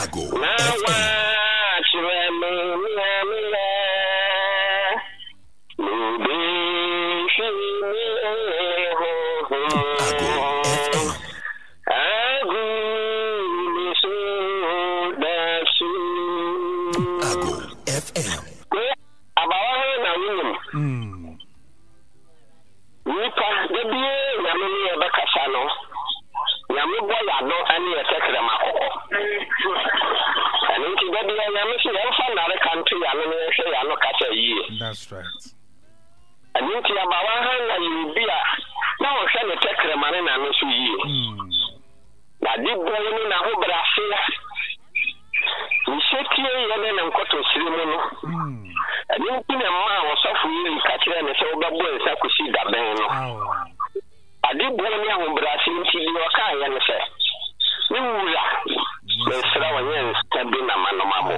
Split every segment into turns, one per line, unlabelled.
Ago
Na
FM.
woakyerɛ me nea meyɛ. Mebehwie me honhom
Ago FM.
agu me so dasu.
Ago FM.
Abawa he na wonim. Nnipa, da biara Nyame ne yɛ bɛkasa no, Nyame bɔ yɛ ano ne yɛ tɛkrɛma kɔkɔ. Ɛno nti da biara Nyame se yɛmfa nnareka nto yɛ ano na yɛnhwɛ yɛ ano kasa yie.
That's right.
Ɛno nti abawa Hannah yɛ obi a na ɔhwɛ ne tɛkrɛma ne n'ano so yie. N'ade bɔe ne n'ahobrɛaseɛ, ne setieyɛ ne ne nkotosrɛ mu no, ɛno nti na ɛmaa ɔsɔfo Eli ka kyerɛɛ no sɛ wobɛbɔ nsa kɔsi da bɛn no. Ade bɔe ne ahobrɛaseɛ nti, deɛ ɔkaeɛ ne sɛ, Me wura, mesrɛ wo, nyɛ nsa bi na manom abo.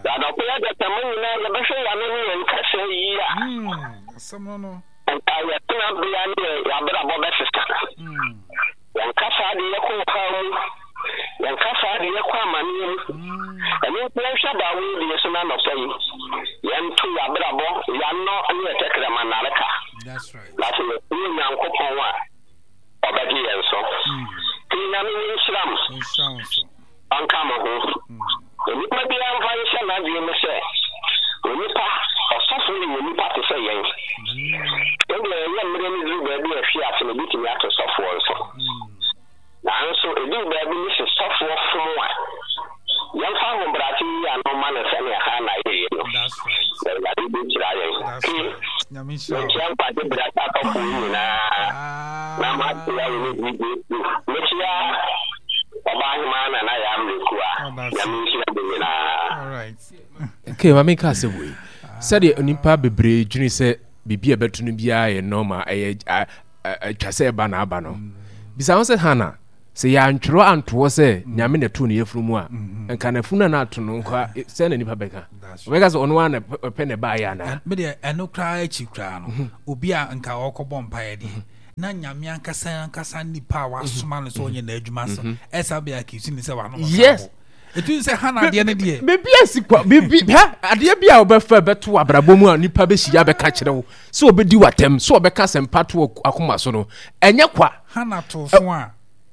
Na anɔpa yi adasamma nyinaa yɛbɛhwɛ yɛn ano ne yɛn kasa yie a, Nka yɛn tenabea ne yɛn abrabɔ bɛsesa. Yɛn kasa de yɛkɔ ɔhaw mu. Yɛn kasa de yɛkɔ amaneɛ mu. Ɛno nti yɛnhwɛ abaawa yi deɛ so no anɔpa yi. Yɛnto yɛn abrabɔ, yɛn ano ne yɛn tɛkrɛma nnareka. Na sɛ yɛtie Onyankopɔn a, ɔbɛgye yɛn so. Nti Nyame ne nhyira mo. Ɔnka mo ho. Onipa biara mfa nhyɛ n'adwene mu sɛ, onipa, ɔsɔfo yɛ onipa te sɛ yɛn. Sɛdeɛ ɛyɛ mmerɛ no duru baabi a ɛhwe ase no, ɛbɛtumi ato sɔfoɔ nso. Nanso ɛduru baabi no sɛ sɔfoɔ fom a, yɛmfa ahobrɛase nyi ano mma no sɛdeɛ Hana yɛeɛ no, na Awurade bɛhyira yɛn. Ke, mekyia nkwagye berɛ asɔfoɔ nyinaa, na makyia wo ne DJ Proof. Mekyia Ɔbaahemaa Nana Yaa Mmerɛkua, Nyame nhyira mo nyinaa.
Okay, ma menka asɛm wei. Sɛdeɛ nnipa bebree dwene sɛ biribi a ɛbɛto no biara yɛ normal, ɛyɛ atwa sɛ ɛba na aba no. Bisa ho sɛ Hana, sɛ yɛantwerɛ antoɔ sɛ mm. Nyame na ɛtoo ne yafunu mu a, mm-hmm. nka n'afunu a na ato no nka sɛ na nipa bɛka. Ɔbɛka sɛ ɔno ara na ɔpɛ na ɛbaeɛ anaa?
Medeɛ ɛno koraa akyi koraa no, mm-hmm. obi a nka ɔkɔbɔ mpaeɛ deɛ mm-hmm. na Nyame ankasa ankasa nipa a wasoma no sɛ ɔnyɛ n'adwuma so ɛsa bɛ accuse ne sɛ wano
yes
ɛtu sɛ hana adeɛ no deɛ
biribi asi kwa biribi hɛ adeɛ bi a wɔbɛfa bɛto abrabɔ mu a nipa bɛhyia bɛka kyerɛ wo sɛ ɔbɛdi w'atɛm sɛ ɔbɛka asɛmpa to akoma so no ɛnyɛ kwa
hana to so a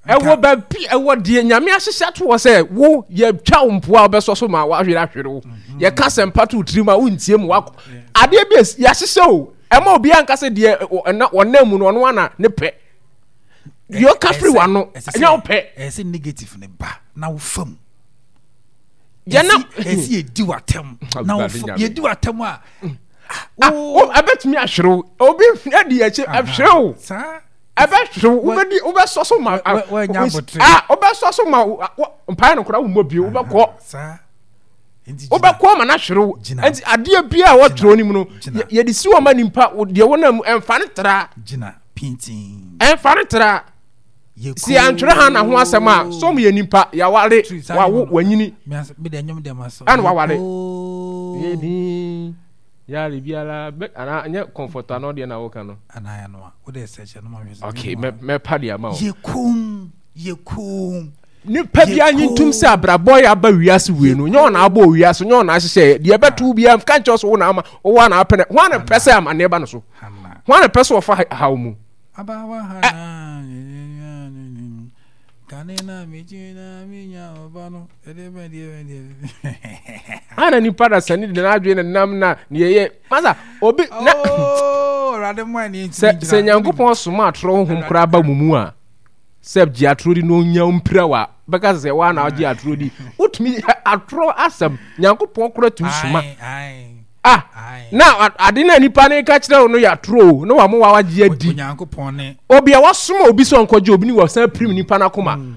ɛwɔ baabi ɛwɔ deɛ Nyame ahyehyɛ ato hɔ sɛ wo yɛtwa wo mpoa a wobɛsɔ so ma wahwere ahwere wo mhm. yɛka asɛmpa to wo tirim a wontie mu wakɔ adeɛ bi yɛahyehyɛ o Ɛma obiara nka sɛ deɛ ɔnam mu no ɔno ana ne pɛ. Deɛ ɔka firi w'ano ɛnyɛ wo pɛ.
Ɛyɛ sɛ negative ne ba na wo fam.
Yɛn na
ɛsɛ yɛdi w'atɛm na wo fam yɛdi w'atɛm a.
Ah, ɛbɛtumi ahwerew obi adi akyi ɛhwerew ɛbɛhwerew wobɛdi wobɛsɔ so ma ah wobɛsɔ so ma mpae no koraa wo mmɔ bio wobɛkɔ. Wobɛkɔ ama no ahwere wo. Nti adeɛ biara a wɔtwerɛ no mu no, yɛde si wɔn ma nipa deɛ wɔnam mu ɛmfa no tra. Ɛmfa no tra. Si antwerɛ ha na ho asɛm a sɔm yɛ nipa yɛaware wawo wanyini ɛna waware. Yɛdin yare biara bɛ anaa nyɛ comfort ano deɛ na woka no. Okay mɛpa deɛ ama wo.
Yɛ komm yɛ komm.
Nipa biara nye ntum sɛ abrabɔ yɛ aba wiase wei no nyɛ ɔna abɔ wiase nyɛ ɔna ahyehyɛ deɛ ɛbɛto biara ka nkyɛw so wo na ama wo ana apɛ ho ana pɛ sɛ amanneɛ ba no so ho ana pɛ sɛ ɔfa haw mu. Ana nipa da sani de n'adwene na nam na ne yɛyɛ masa obi na
oh,
sɛ sɛ Nyankopɔn soma atorɔ honhom koraa ba mu mu a sɛ gye atorɔ di na ɔnya mpira wa bɛka sɛ waa na ɔgye atorɔ di wotumi atorɔ asɛm Nyankopɔn koraa tumi soma ah na ade na nipa ne ka kyerɛ wo no yɛ atorɔ o na wɔn wa wagye adi obi a wasoma obi sɛ ɔnkɔgye obi ne wɔsan pirim nipa no akoma mm.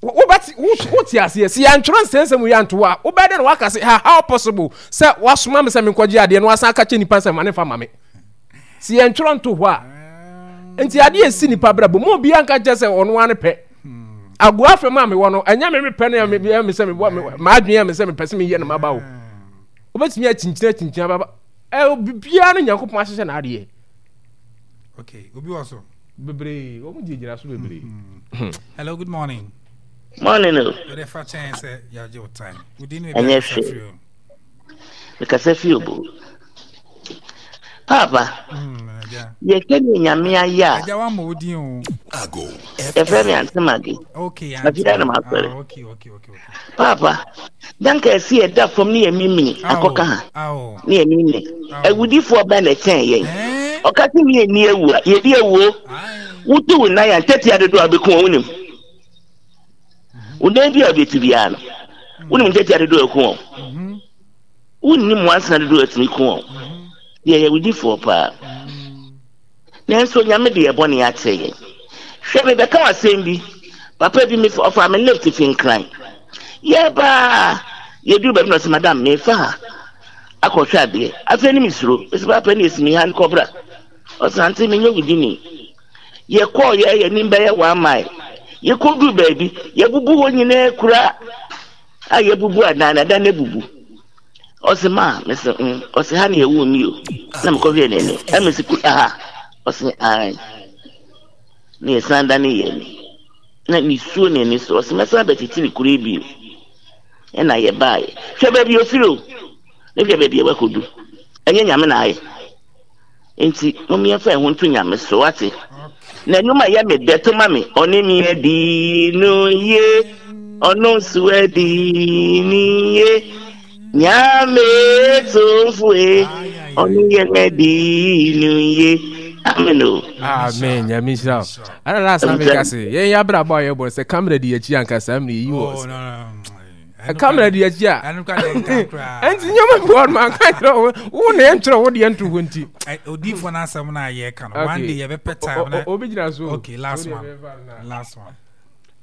wobɛte wote aseɛ sɛ yɛantwerɛ nsɛnsɛm yi anto a wobɛyɛ dɛ na waka sɛ ha how possible sɛ wasoma me sɛ menkɔgye adeɛ na wasan aka kyɛ nipa sɛ ma ne mfa ma me sɛ yɛntwerɛ nto hɔ a nti adeɛ ɛsi nipa brabɔ mu obiara nka kyerɛ sɛ ɔno ara ne pɛ agoa fam a mewɔ no ɛnyɛ me mepɛ no ɛyɛ me sɛ mebɔ m'adwene yɛ me sɛ mepɛ sɛ meyɛ no maba o wobɛtumi akyinkyini akyinkyini ababa ɛ biribiara no Nyankopɔn ahyehyɛ n'adeɛ.
Okay, obi wɔ so.
Bebree, wɔn gyinagyina so bebree.
Hello, good morning.
Morning o.
Wode fa kyɛn sɛ yɛagye wo time. Wodi ne
Ɛnyɛ
baabi akasa
hwee.
firi o.
Mekasa fi obo. Paapa,
Agya.
yɛhwɛ ne Nyame ayɛ a.
Agya wammɔ wo din o.
Ago
Yɛfrɛ me
FM.
Ante Mage.
Okay,
Afei
Auntie.
na masɔre.
Ah, okay, okay, okay, okay.
Paapa, danka ɛsi ɛda fam ne yɛ mimini akɔka ha.
Awo.
Ne yɛ mimini.
Awo.
Awudifoɔ bɛn na ɛkyɛn yɛn.
Eh?
Ɔka sɛ ne yɛnni awu a, yɛdi awuo.
Aye.
Wotu wo nan a, ntɛtea dodoɔ a wobɛku wɔn wonim. Wo nan bi a wobɛtu biara no, wonim ntɛtea dodoɔ a ɛku wɔn. Wonnim nwansena dodoɔ a ɛtumi ku wɔn. Yɛyɛ awudifoɔ paa. Nanso Nyame de yɛn bɔne akyɛ yɛn. Hwɛ, mebɛka wo asɛm bi. Papa bi, mefa, ɔfaa me lift fi Nkran. Yɛreba a, yɛduru baabi na ɔse, madam, mefa ha akɔhwɛ adeɛ. Afei ne mesuro. Mese, papa, ne ɛsi me ha nkɔbra. Ɔse, ante, menyɛ wo dini. Yɛkɔɔ yɛ yɛnim bɛyɛ one mile. Yɛkɔduru baabi, yɛbubu hɔ nyinaa kura a yɛbubu adan no, adan no abubu. Ɔse ma, mese mm, ɔse ha na yɛwoo me o. Na mekɔhwɛɛ n'anim, ɛna mese kura ha. Ɔse ae. Na yɛsan dane yɛn ani. Na nisuo n'ani so, ɔse mɛsan abɛkyekyere kuro yi bio. Ɛna yɛbaeɛ. Hwɛ baabi ofiri o, ne hwɛ baabi a wakɔdu. Ɛnyɛ Nyame na ayɛ. Nti mom yɛmfa yɛn ho nto Nyame so, wate? Na nnwom a ɛyɛ me dɛ to ma me, ɔne me adi no yie, ɔno nso adi ne yie. Nyame tomfoe, ɔne yɛn adi no yie. Amen o.
Amen. Nyame nhyira wo. Ana last na meka se yɛn yɛ abrabɔ a yɛbɔ sɛ camera di akyi anka saa mmerɛ yi wɔ.
Oh, no, no, no.
Camera di akyi a. Ɛnti nneɛma bi wɔ no anka kyerɛ wo wo na yɛntwerɛ wo deɛ nto hɔ nti.
Odiifoɔ no asɛm no a yɛka no one day yɛbɛpɛ time na.
Obi gyina so.
Okay, last one. Last one.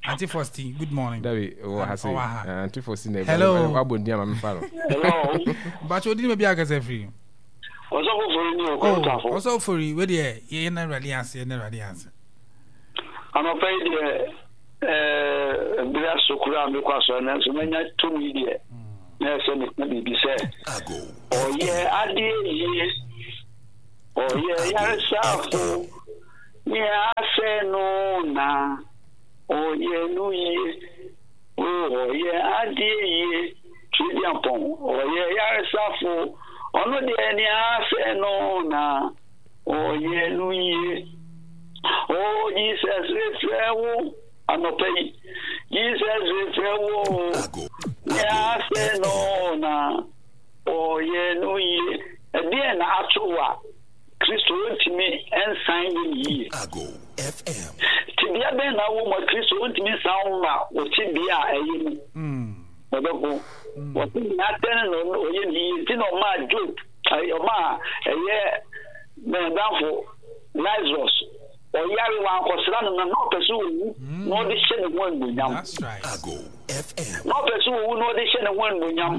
Auntie Fosti, good morning.
Dabi, wɔ ha se. Auntie Fosti na
Hello.
Wabɔ ndi ama me fa no.
Hello.
Bacho odi me bi akasa firi.
Ɔsɔfo fori ni o kɔntafo.
Oh, ɔsɔfo fori, we deɛ yɛ na awurade ase, yɛ na awurade ase.
Anɔpa yi deɛ ɛɛ bere aso koraa a mekɔ asɔre nanso manya tumi deɛ na ɛsɛ meka biribi sɛ ɔyɛ adeɛ yie ɔyɛ yaresafo nea asɛ no na ɔyɛ no yie ɔyɛ adeɛ yie Tweduampɔn ɔyɛ yaresafo ɔno deɛ nea asɛ no na Ɔyɛ no yie. Oh Jesus refrɛ wo anɔpa yi. Jesus refrɛ wo. Nea asɛ no na ɔyɛ no yie. Ɛdeɛn na ato wo a Kristo ntumi nsan nyɛ no yie? Tebea bɛn na wɔ mu a Kristo ntumi nsan ma wo tebea a ɛyɛ mu? Ɔdɔfo, wɔte nea asɛ no na ɔyɛ no yie nti na ɔmaa Job Ɔmaa ɛyɛ n'adamfo Lazarus ɔyare, wankɔsra no na na ɔpɛ sɛ owu na ɔde hyɛ ne ho anuonyam. Na ɔpɛ sɛ owu na ɔde hyɛ ne ho anuonyam.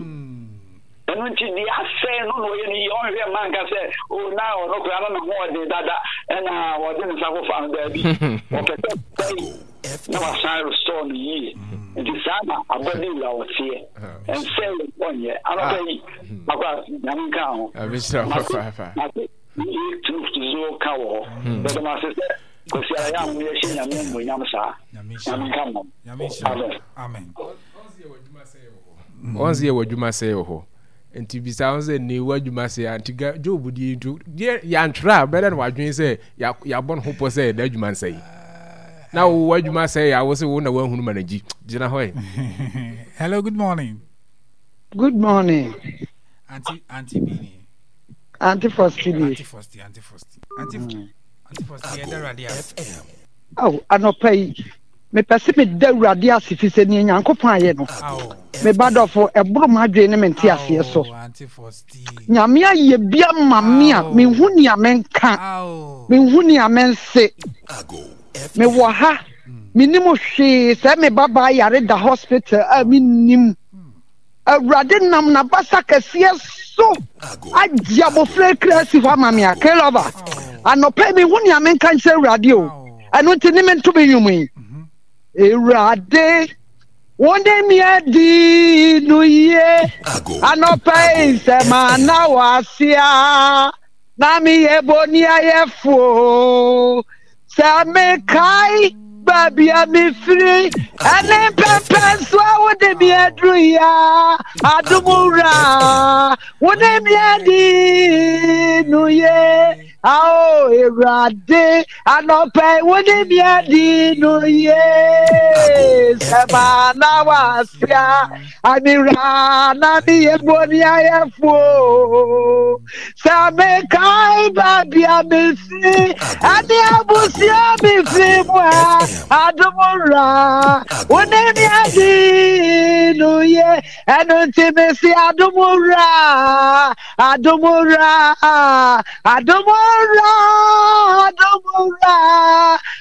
Ɛno nti deɛ asɛe no na ɔyɛ no yie, ɔnhwɛ mma nka sɛ o na ɔno koraa na ne ho ɔden dada ɛna ɔde ne nsa kɔfa no daabi. Ɔpɛ sɛ sɛe na wasan restore no yie. Nti saa na abɔde wura ɔteɛ. Ɛnsɛ ɔnyɛ. Anɔpa yi Papa, nyame nka ho.
Abisra papa.
Mate ye truth zo ka wɔ hɔ. Bɛdɛ ma se sɛ kwasi ara yɛ amu yɛ hyɛ nyame animuonyam saa. Nyame nka mo.
Amen. Amen.
Wɔn sɛ yɛ wɔ adwuma sɛ wɔ hɔ. Nti bisa wɔn sɛ ne wɔ adwuma sɛ a nti ga Job deɛ nti deɛ yɛantwerɛ a bɛdɛ na wadwene sɛ yɛabɔ ne ho pɔ sɛ n'adwuma nsɛe. Na wo adwuma sɛ yɛ a wo sɛ wo na woahunu ma no gyi gyina hɔ ɛ.
Hello, good morning.
Good morning.
Auntie, Auntie Bini.
Auntie Fosti bi.
Auntie Fosti, Auntie Fosti. Auntie, mm. Auntie Fosti, yɛ dawurade ase.
Aw, anɔpa yi, mepɛ sɛ meda awurade ase fi sɛ nea Nyankopɔn ayɛ no. Me ba dɔfo, ɛboro m'adwene ne me nte aseɛ so. Nyame ayɛ bi ama me a, menhu nea menka, menhu nea mense. Mewɔ ha, mennim hwee sɛ me babaa yare da hospital a mennim. Awurade nam n'abasa kɛseɛ so agye abɔfra kra asi hɔ ama me a K-Lover anɔpa yi mehu nea menka nkyerɛ Awurade o ɛno nti ne mento me nnwom yi Awurade wo ne me adi no yie anɔpa yi sɛ mana wɔ ase a na meyɛ boniayɛfoɔ sɛ mekae. baabi a mefiri ɛne mpɛmpɛ nso a wode me aduru yi a adom wura wo ne me adi no ye ao Awurade anɔpɛ yi wo ne me adi no ye sɛ maa na wasia amewura na meyɛ bɔne ayɛfoɔ Sɛ mekae baabi a mefiri ɛne abusua mefiri mu a, adom wura, wo ne me adi no ye. Ɛno nti mese adom wura, adom wura, adom wura, adom wura,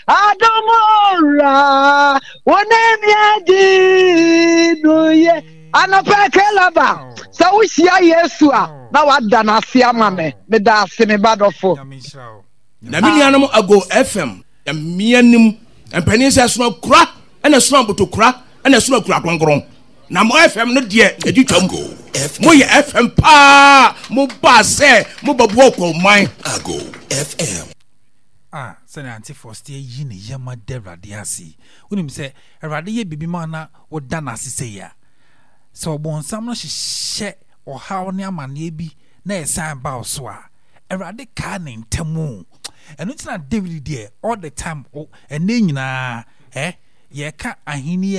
adom wura, wo ne me adi no ye. Anɔpa Kelaba, sɛ wohyia Yesu a, na wada no ase ama me. Meda ase, me ba dɔfo.
Na me nuanom Ago FM mmea nim mpanin sɛ ɛsono akura ɛna ɛsono abotokura ɛna ɛsono akura kronkron na mo FM no deɛ ɛdi twam mo yɛ FM paa mo baa sɛ mo bɛboa ɔkɔman.
Ago FM.
Ah, sɛnea Auntie Faustie yi ne yam ada Awurade ase yi. Wonim sɛ Awurade yɛ biribi ma na woda no ase sei a, sɛ ɔbonsam no hyehyɛ ɔhaw ne amanneɛ bi na ɛsan ba wo so a, Awurade kaa ne ntam o. Ɛno nti na David deɛ all the time, ɛnɛ nyinaa, eh, yɛka ahenni.